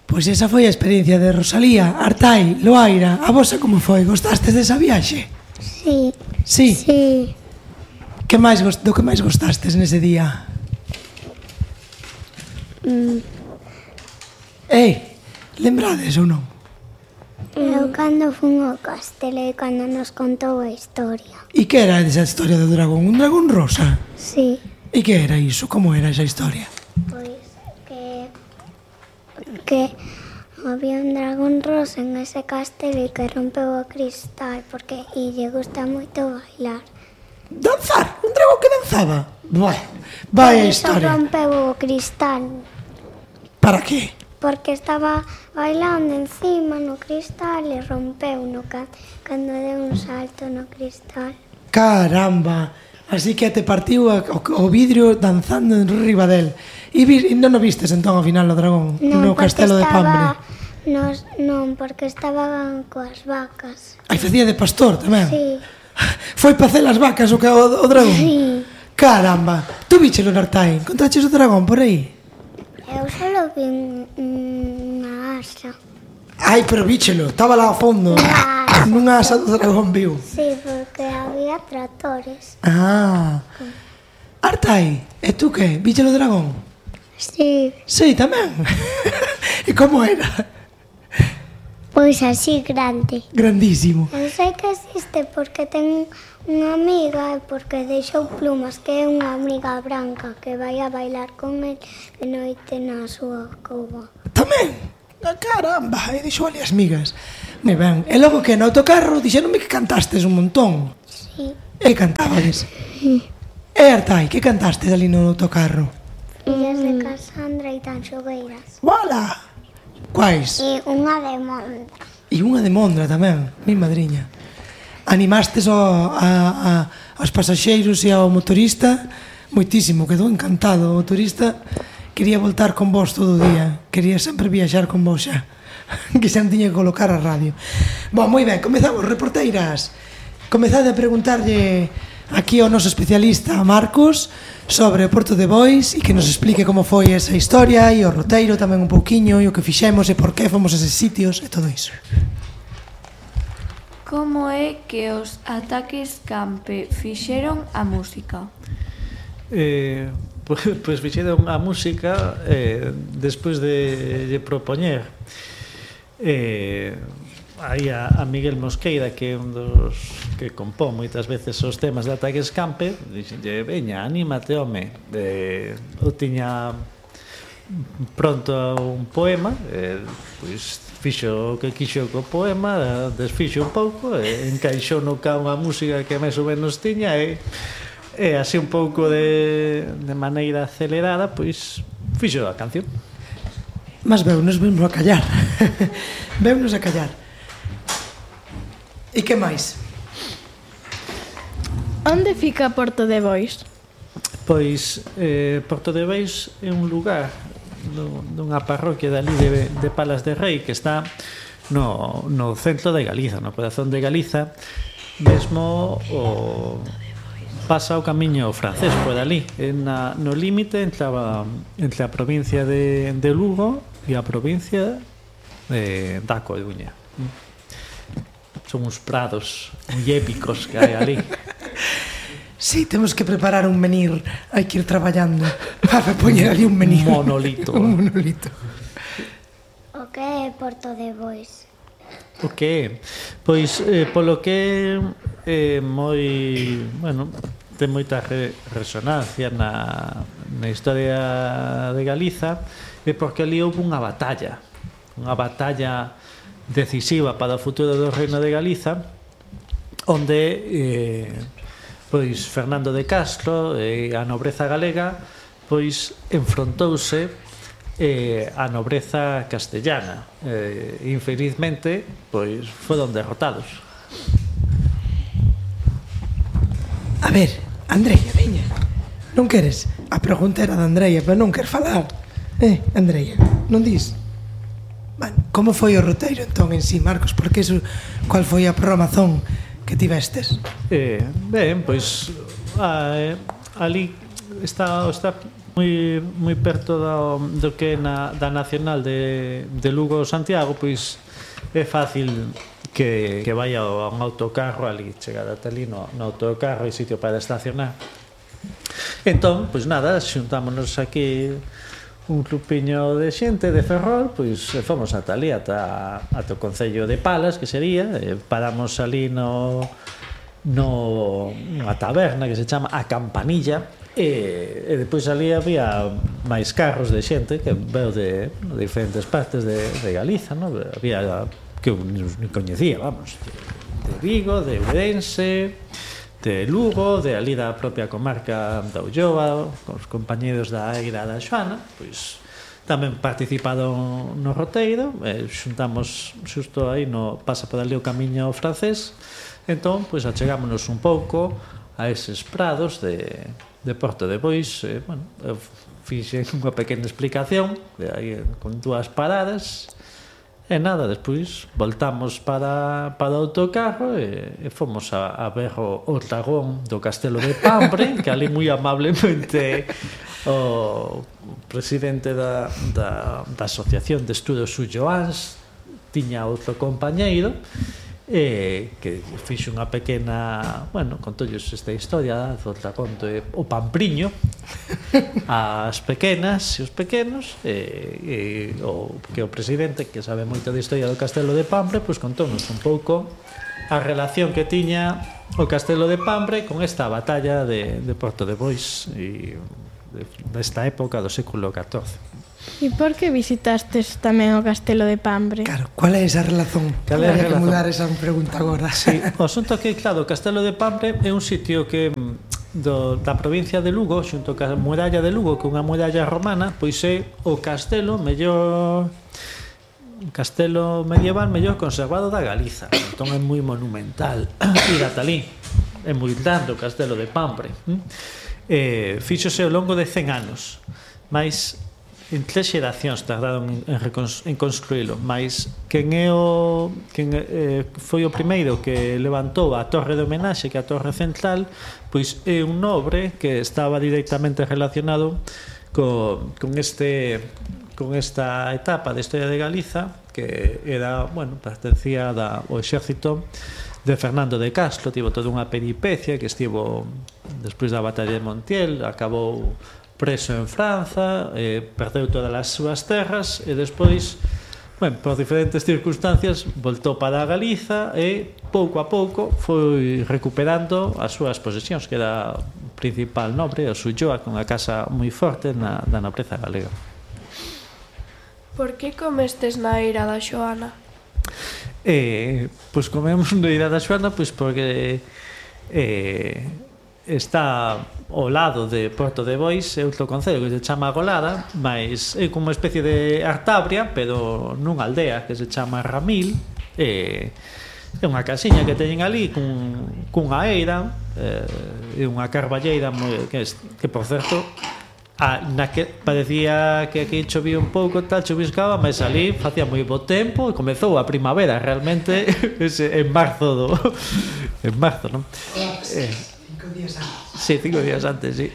Pois esa foi a experiencia de Rosalía. Artai, Loaira, a vosa como foi? Gostastes desa viaxe? Sí. Sí? Sí. Do que máis gostastes nese día? Lembrades ou non? Eu cando fun ao castelo e cando nos contou a historia. E que era esa historia do dragón? Un dragón rosa? Sí. E que era iso? Como era esa historia? Pois que había un dragón rosa en ese castelo e que rompeu o cristal porque lle gusta moito bailar. Danzar? Un dragón que danzaba? Vai a historia. Rompeu o cristal. Para que? Porque estaba bailando encima no cristal e rompeu cando deu un salto no cristal. Caramba! Así que te partiu o vidrio danzando en riba del. E non o vistes entón ao final o dragón no castelo de Pambre? Non, porque estaba coas vacas. Aí facía de pastor tamén? Sí. Foi para hacer as vacas o dragón? Sí. Caramba! Tú víchelo, Nartai? Encontraches o dragón por aí? Eu solo vi unha asa. Ai, pero víchelo, estaba lá ao fondo. Nunha asa do dragón viu. Sí, porque había tractores. Artai, e tú que? Víchelo o dragón? Sí. Sí, tamén. E como era? Pois así grande. Grandísimo. Eu sei que existe porque ten unha amiga e porque deixou plumas, que é unha amiga branca que vai a bailar con el de noite na súa cova. Tamén? Caramba, e deixou ali as migas. Moi ben, e logo que no autocarro dixeronme que cantastes un montón. Sí. E cantabades? Sí. E Artai, que cantastes ali no autocarro? Illas de Casandra e Tanxogueiras. Wala! Quais? E unha de Mondra. E unha de Mondra tamén, mi madriña. Animastes aos pasaxeiros e ao motorista moitísimo, quedou encantado o motorista. Quería voltar con vos todo o día, quería sempre viaxar con vos xa, que xa non tiña que colocar a radio. Bon, moi ben, comezamos, reporteiras. Comezade a preguntarlle aquí ao noso especialista, a Marcos, sobre o Porto de Bois e que nos explique como foi esa historia e o roteiro tamén un pouquiño e o que fixemos e por que fomos a eses sitios e todo iso. Como é que os Ataques Campe fixeron a música? Pois fixeron a música despois de propoñer aí a Miguel Mosqueira, que é un dos que compón moitas veces os temas de Ataques Campe. Dixenlle, veña, anímate, home. Eu tiña pronto un poema, pois fixo o que quixo co poema, desfixo un pouco e encaixou no ca unha música que máis ou menos tiña e así un pouco de maneira acelerada, pois fixo a canción. Mas veunos a callar. Veunos a callar. E que máis? Onde fica Porto de Bois? Pois Porto de Bois é un lugar dunha parroquia dali de Palas de Rei que está no centro de Galiza, no corazón de Galiza, mesmo pasa o camiño francés por ali, no límite entre a provincia de Lugo e a provincia da Coruña. Son uns prados moi épicos que hai ali. Sí, temos que preparar un menir. Hai que ir traballando para poñer ali un menir. Un monolito. Un monolito. O que é Porto de Bois? O que é? Pois, polo que é moi... Bueno, ten moita resonancia na historia de Galiza, é porque ali houve unha batalla decisiva para o futuro do Reino de Galiza, onde pois Fernando de Castro e a nobreza galega pois enfrontouse a nobreza castellana. Infelizmente pois foron derrotados. A ver, Andreia, veña. Non queres? A pregunta era de Andreia, pero non quer falar. Andreia, non dis? Bueno, como foi o roteiro entón en sí, Marcos? Porque iso, cual foi a programación que tivestes? Ben, pois ali está moi perto do que é da Nacional de Lugo Santiago, pois é fácil que vaya a un autocarro ali, chegar ata ali no autocarro e sitio para estacionar. Entón, pois nada, xuntámonos aquí un grupiño de xente de Ferrol, pois fomos ata ali, ata o Concello de Palas, que sería, paramos ali nunha taberna que se chama A Campanilla, e depois ali había máis carros de xente que veo de diferentes partes de Galiza, non? Había que eu non coñecía, vamos, de Vigo, de Ourense, de Lugo, de ali da propia comarca da Ulloa, con os compañeros da Eira da Xoana, pois tamén participado no roteiro, xuntamos xusto aí pasa por ali o camiño francés, entón, pois achegámonos un pouco a eses prados de Porto de Bois, bueno, eu fixe unha pequena explicación, aí con 2 paradas, e nada, despois voltamos para o autocarro e fomos a ver o dragón do Castelo de Pambre, que ali moi amablemente o presidente da Asociación de Estudos Ulloáns tiña outro compañeiro que fixe unha pequena, bueno, contolles esta historia do dragón o Pampriño as pequenas e os pequenos que o presidente, que sabe moito da historia do Castelo de Pambre, pois contónos un pouco a relación que tiña o Castelo de Pambre con esta batalla de Porto de Bois e desta época do século XIV. E por que visitastes tamén o Castelo de Pambre? Claro, cual é esa relación? Habría que mudar esa pregunta agora. Sí, o asunto que, claro, o Castelo de Pambre é un sitio que da provincia de Lugo, xunto ca muralla de Lugo, que é unha muralla romana, pois é o castelo medieval mellor conservado da Galiza. Entón é moi monumental ir ata ali. É moi grande o Castelo de Pambre. Fíxose ao longo de 100 anos, mas en 3 xeracións tardaron en construílo, mas quen foi o primeiro que levantou a torre de homenaxe, que é a torre central, pois é un nobre que estaba directamente relacionado con esta etapa de historia de Galiza, que era, bueno, pertencía ao exército de Fernando de Castro. Tivo toda unha peripecia que estivo despois da batalla de Montiel, acabou preso en Franza, perdeu todas as súas terras e despois, bueno, por diferentes circunstancias voltou para a Galiza e pouco a pouco foi recuperando as súas posesións, que era o principal nobre, o Ulloa, con unha casa moi forte da nobreza galega. Por que comestes na Eira da Xoana? Pois comemos na Eira da Xoana pois porque está ao lado de Porto de Bois, é outro concello que se chama Golada, mas é como unha especie de Artabria, pero nunha aldea que se chama Ramil. É unha casiña que teñen ali cunha eira, é unha carballeira que por certo, parecía que aquí chovía un pouco, tal, choviscaba, mas ali facía moi bo tempo e comezou a primavera realmente en marzo, non? 5 días antes. Sí, 5 días antes, sí.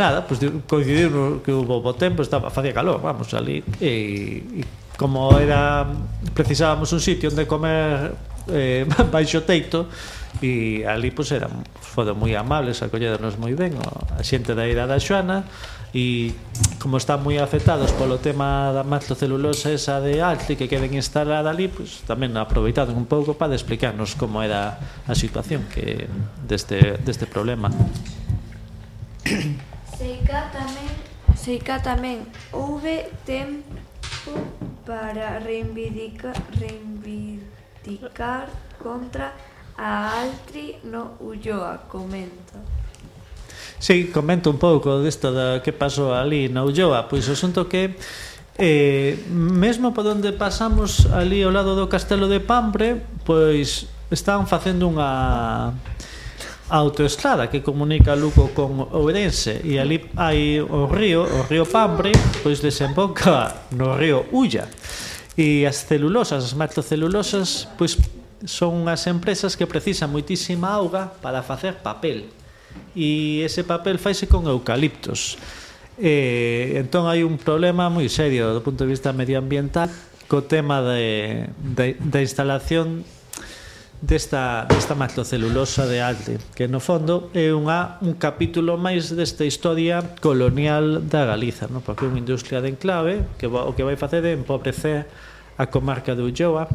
Nada, pues coincidiu que hubo bo tempo, facía calor, vamos, ali. E como precisábamos un sitio onde comer baixo teito, e ali pues foron moi amables, acolléronos moi ben a xente da Eira da Xoana, e como están moi afectados polo tema da macrocelulosa esa de Altri que queden instalada ali, pues tamén aproveitaron un pouco para explicarnos como era a situación deste problema. Seica tamén houve tempo para reivindicar contra a Altri no Ulloa, comenta. Sí, comento un pouco desto que pasou ali na Ulloa. Pois o asunto que mesmo por onde pasamos ali ao lado do Castelo de Pambre, pois están facendo unha autoestrada que comunica Lugo con Ourense, e ali hai o río Pambre, pois desemboca no río Ulla, e as macrocelulosas, pois son unhas empresas que precisan moitísima auga para facer papel, e ese papel faise con eucaliptos. Entón hai un problema moi serio do punto de vista medioambiental co tema da instalación desta macrocelulosa de Alde, que no fondo é un capítulo máis desta historia colonial da Galiza, non? Porque é unha industria de enclave que o que vai facer é empobrecer a comarca de Ulloa,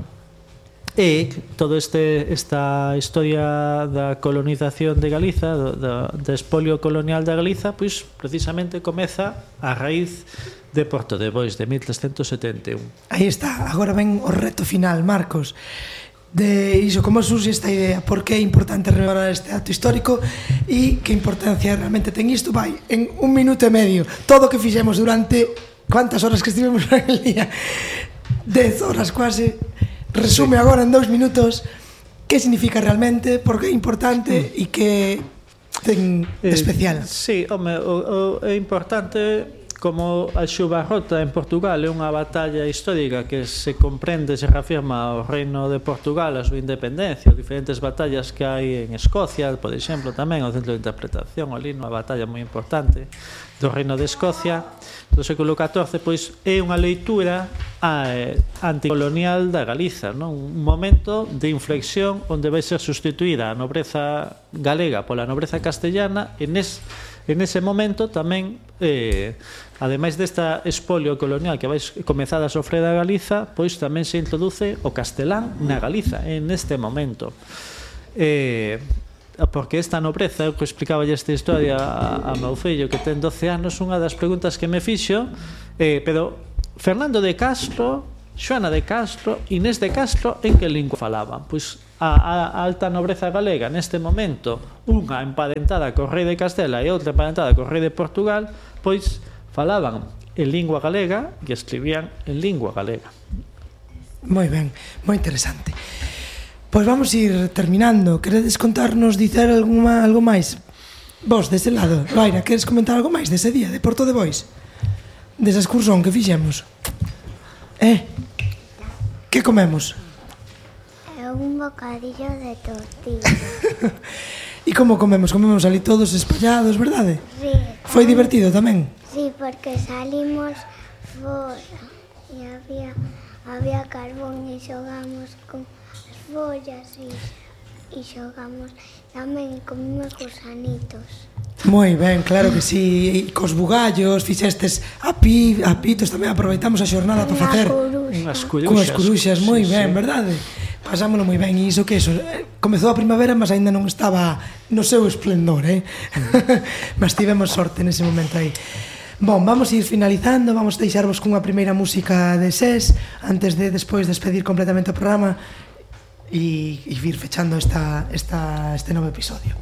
e toda esta historia da colonización de Galiza, da espolio colonial da Galiza, pois precisamente comeza a raíz de Porto de Bois, de 1371. Aí está, agora ven o reto final, Marcos, de iso, como surxe esta idea, por que é importante rememorar este acto histórico e que importancia realmente ten isto. Vai, en 1 minuto e medio, todo o que fixemos durante cuántas horas que estivemos en el día, 10 horas quase, resume agora en 2 minutos que significa realmente, por que é importante e que ten especial. Sí, home, é importante. Como a Xubarrota en Portugal é unha batalla histórica que se comprende, se reafirma o reino de Portugal, a súa independencia, diferentes batallas que hai en Escocia, por exemplo, tamén o centro de interpretación, ali unha batalla moi importante do reino de Escocia do século XIV, pois é unha leitura anticolonial da Galiza, non? Un momento de inflexión onde vai ser sustituída a nobreza galega pola nobreza castellana, e nese momento tamén, ademais desta espolio colonial que vai comezar a sofrer a Galiza, pois tamén se introduce o castelán na Galiza en este momento, porque esta nobreza, eu que explicaba esta historia a meu fillo que ten 12 anos, unha das preguntas que me fixo, pero Fernando de Castro, Xoana de Castro, Inés de Castro, en que lingua falaban? Pois a alta nobreza galega neste momento, unha emparentada co rei de Castela e outra emparentada co rei de Portugal, pois falaban en lingua galega e escribían en lingua galega. Moi ben, moi interesante. Pois vamos ir terminando. Queredes contarnos, dicer algo máis? Vos, dese lado, Laira, queres comentar algo máis dese día de Porto de Bois? Desa excursón que fixemos? Que comemos? Un bocadillo de tortilla. E como comemos? Comemos ali todos espallados, verdade? Sí. Foi divertido tamén? Sí, porque salimos fora e había carbón e xogamos con as follas e xogamos tamén, comemos gusanitos. Moi ben, claro que sí. E cos bugallos, fixestes apitos, tamén aproveitamos a xornada para facer unhas coruxas, moi ben, verdade? Pasámoslo moi ben, e iso que eso, comezou a primavera, mas aínda non estaba no seu esplendor, mas tivemos sorte nese momento aí. Bon, vamos ir finalizando, vamos deixarvos cunha primeira música de SES antes de despois despedir completamente o programa e vir fechando este novo episodio.